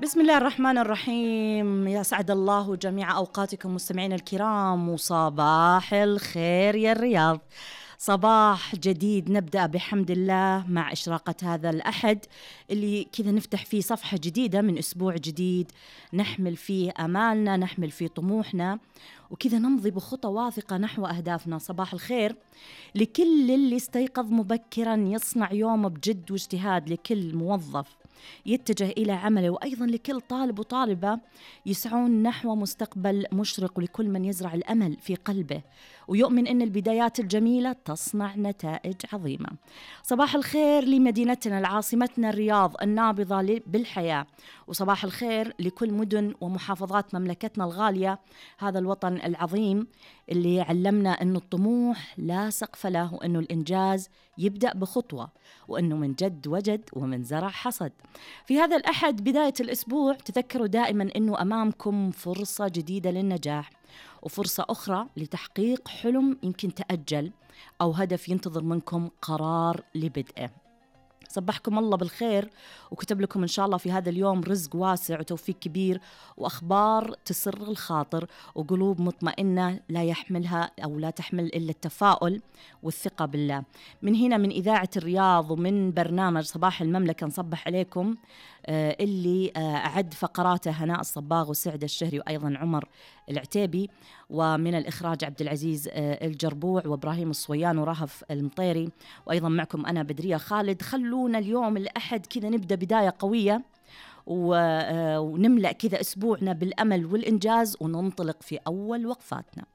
بسم الله الرحمن الرحيم. يا سعد الله جميع أوقاتكم مستمعين الكرام، وصباح الخير يا الرياض. صباح جديد نبدأ بحمد الله مع إشراقة هذا الأحد اللي كذا نفتح فيه صفحة جديدة من أسبوع جديد، نحمل فيه آمالنا، نحمل فيه طموحنا، وكذا نمضي بخطى واثقة نحو أهدافنا. صباح الخير لكل اللي استيقظ مبكرا يصنع يومه بجد واجتهاد، لكل موظف يتجه إلى عمله، وأيضا لكل طالب وطالبة يسعون نحو مستقبل مشرق، ولكل من يزرع الأمل في قلبه ويؤمن أن البدايات الجميلة تصنع نتائج عظيمة. صباح الخير لمدينتنا العاصمتنا الرياض النابضة بالحياة، وصباح الخير لكل مدن ومحافظات مملكتنا الغالية، هذا الوطن العظيم اللي علمنا أنه الطموح لا سقف له، وأنه الإنجاز يبدأ بخطوة، وأنه من جد وجد ومن زرع حصد. في هذا الأحد بداية الأسبوع تذكروا دائما أنه أمامكم فرصة جديدة للنجاح، وفرصة أخرى لتحقيق حلم يمكن تأجل، أو هدف ينتظر منكم قرار لبدءه. صبحكم الله بالخير، وكتب لكم إن شاء الله في هذا اليوم رزق واسع وتوفيق كبير، وأخبار تسر الخاطر، وقلوب مطمئنة لا يحملها أو لا تحمل إلا التفاؤل والثقة بالله. من هنا من إذاعة الرياض ومن برنامج صباح المملكة نصبح عليكم، اللي أعد فقراته هناء الصباغ وسعد الشهري وأيضا عمر العتيبي، ومن الإخراج عبد العزيز الجربوع وإبراهيم الصويان ورهف المطيري، وأيضا معكم أنا بدرية خالد. خلونا اليوم الأحد كذا نبدأ بداية قوية، ونملأ كذا أسبوعنا بالأمل والإنجاز، وننطلق في أول وقفاتنا.